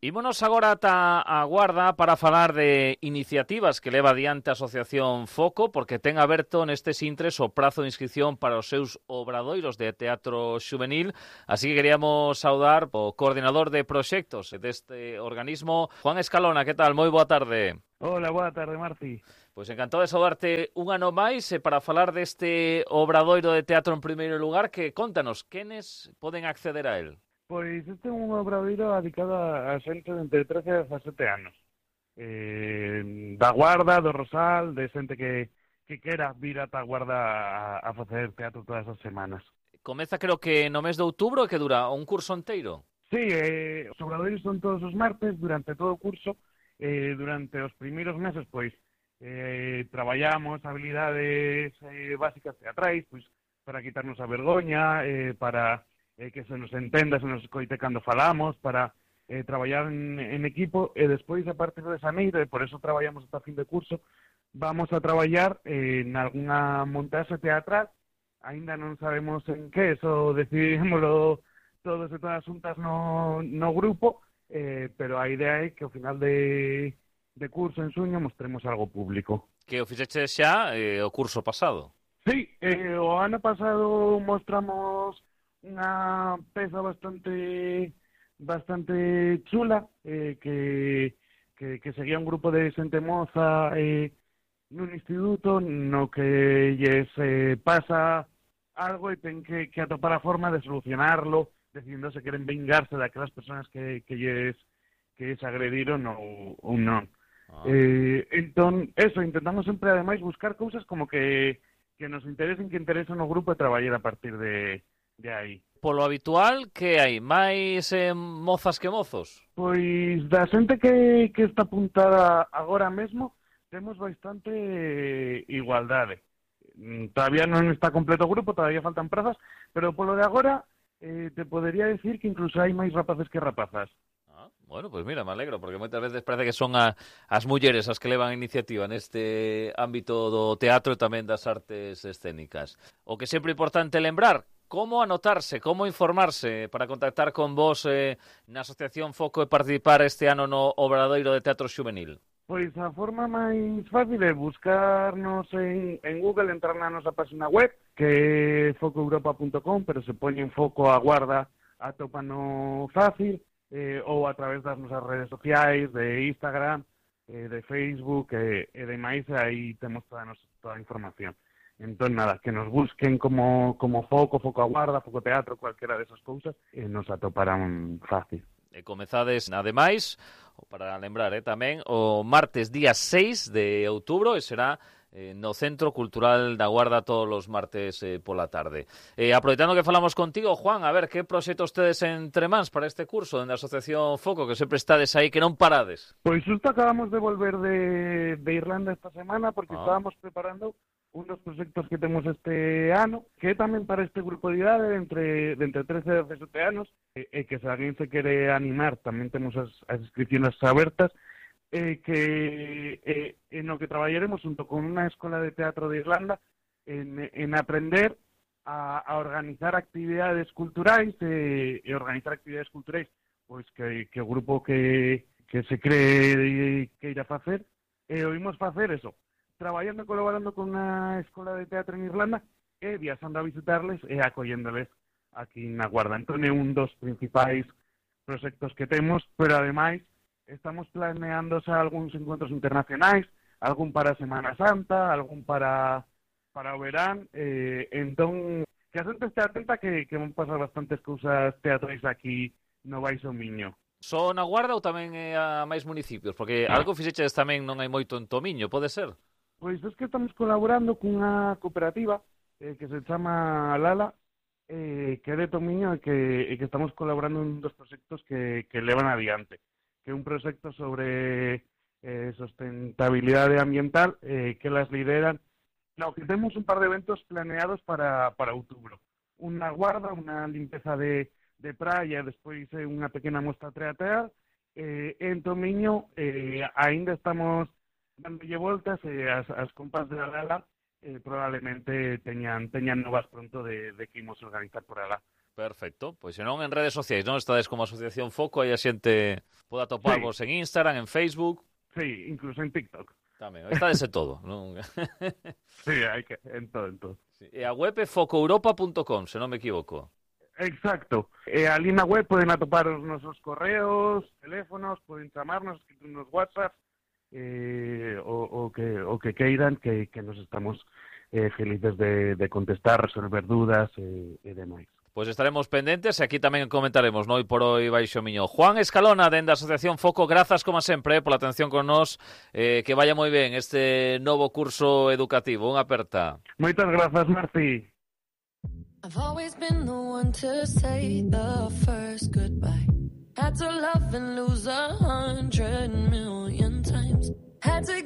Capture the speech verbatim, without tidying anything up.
Ímonos agora ata a Guarda para falar de iniciativas que leva adiante a Asociación Foco, porque ten aberto nestes intres o prazo de inscripción para os seus obradoiros de teatro xuvenil, así que queríamos saudar o coordinador de proxectos deste organismo, Juan Escalona. Que tal? Moi boa tarde. Hola, boa tarde, Marci. Pois encantado de saudarte un ano máis e para falar deste obradoiro de teatro en primeiro lugar, que contanos, quenes poden acceder a él? Pois este é un obradoiro dedicado a xente de entre trece e dezasete anos. Eh, da Guarda, do Rosal, de xente que, que quera vir ata a Guarda a, a facer teatro todas as semanas. Comeza creo que no mes de outubro, que dura un curso inteiro. Sí, eh, os obradoiros son todos os martes durante todo o curso. Eh, durante os primeiros meses, pois, eh, traballamos habilidades eh, básicas teatrais, pois, para quitarnos a vergoña, eh, para eh, que se nos entenda, se nos escoite cando falamos, para eh, traballar en, en equipo, e despois, a partir de xaneiro, e por eso traballamos hasta fin de curso, vamos a traballar eh, en algunha montaxe teatral. Ainda non sabemos en que, eso decidímoslo todos e todas xuntas no, no grupo, eh, pero a idea é que ao final de, de curso en xuño mostremos algo público. Que o fixeche xa eh, o curso pasado. Sí, eh, o ano pasado mostramos unha peza bastante bastante chula, eh, que, que, que seguía un grupo de xente moza eh, nun instituto no que lles eh, pasa algo e ten que, que atopar a forma de solucionarlo, decidindo se queren vengarse daquelas persoas que, que lles que lles agrediron ou, ou non. Ah. Eh, entón, eso, intentamos sempre, ademais, buscar cousas como que, que nos interesen, que interesen o grupo e traballar a partir de, de aí. Polo habitual, que hai? Mais eh, mozas que mozos? Pois, da xente que, que está apuntada agora mesmo, temos bastante eh, igualdade. Todavía non está completo o grupo, todavía faltan prazas, pero polo de agora eh, te podería decir que incluso hai máis rapaces que rapazas. Ah, bueno, pois pues mira, me alegro, porque moitas veces parece que son a, as mulleres as que levan a iniciativa neste ámbito do teatro e tamén das artes escénicas. O que sempre é importante lembrar, como anotarse, como informarse para contactar con vos eh, na Asociación Foco e participar este ano no Obradoiro de Teatro Xuvenil. Pois a forma máis fácil é buscarnos en, en Google, entrar na nosa página web, que é foco europa punto com, pero se poñen Foco a Guarda, atópano fácil, eh, ou a través das nosas redes sociais, de Instagram, eh, de Facebook, e, e demais, aí temos toda, nos, toda a información. Entón, nada, que nos busquen como, como Foco, Foco a Guarda, Foco Teatro, cualquera desas cousas, e nos atoparán fácil. E comezades, ademais, para lembrar eh, tamén, o martes día seis de outubro, e será eh, no Centro Cultural da Guarda todos os martes eh, pola tarde. Eh, aproveitando que falamos contigo, Juan, a ver, que proxectos tedes entre mans para este curso dende a Asociación Foco, que sempre estades aí, que non parades? Pois xusto acabamos de volver de, de Irlanda esta semana, porque ah. estábamos preparando un dos proxectos que temos este ano, que é tamén para este grupo de idade entre, de entre trece e dezasete anos, e, e que se alguén se quere animar, tamén temos as, as inscripciones abertas, e que e, en o que traballaremos junto con unha escola de teatro de Irlanda en, en aprender a, a organizar actividades culturais e, e organizar actividades culturais pois que, que o grupo que, que se cree que irá facer, e oímos facer eso, traballando e colaborando con unha escola de teatro en Irlanda e viaxando a visitarles e acolléndoles aquí na Guarda. Entón é un dos principais proxectos que temos, pero ademais estamos planeando xa algúns encontros internacionais, algún para a Semana Santa, algún para para o verán, eh, entón que a xente este atenta que, que van pasar bastantes cousas teatrais aquí no Baixo Miño. Só na Guarda ou tamén eh, a máis municipios? Porque algo fixeches tamén non hai moito en Tomiño, pode ser? Pois é que estamos colaborando cunha cooperativa eh, que se chama Lala, eh, que é de Tomiño e que, e que estamos colaborando en un dos proxectos que, que levan adiante, que é un proxecto sobre eh, sustentabilidade ambiental eh, que las lideran. No, que temos un par de eventos planeados para, para outubro. Unha guarda, unha limpeza de, de praia, despois eh, unha pequena mostra teatral. Eh, en Tomiño eh, ainda estamos dándolle voltas e as, as compas de Lala eh, probablemente teñan, teñan novas pronto de, de que imos organizar por alá. Perfecto, pois se non en redes sociais, non estades como Asociación Foco, aí a xente poda toparvos sí. En Instagram, en Facebook. Sí, incluso en TikTok. Tamén, estades en todo, non? Sí, hai que, en todo, en todo. Sí. E a web é foco europa punto com, se non me equivoco. Exacto. E ali na web poden atopar os nosos correos, teléfonos, poden chamarnos, nos WhatsApp, eh, o, o, que, o que queiran, que, que nos estamos eh, felices de, de contestar, resolver dudas e, e demais. Pois estaremos pendentes e aquí tamén comentaremos, no? E por hoy baixo miño. Juan Escalona, dende a Asociación Foco, grazas como sempre pola atención con nós, eh, que vaya moi ben este novo curso educativo. Unha aperta. Moitas grazas, Marci. I've always been the one to say the first goodbye. Had to love and lose a hundred million times. Had to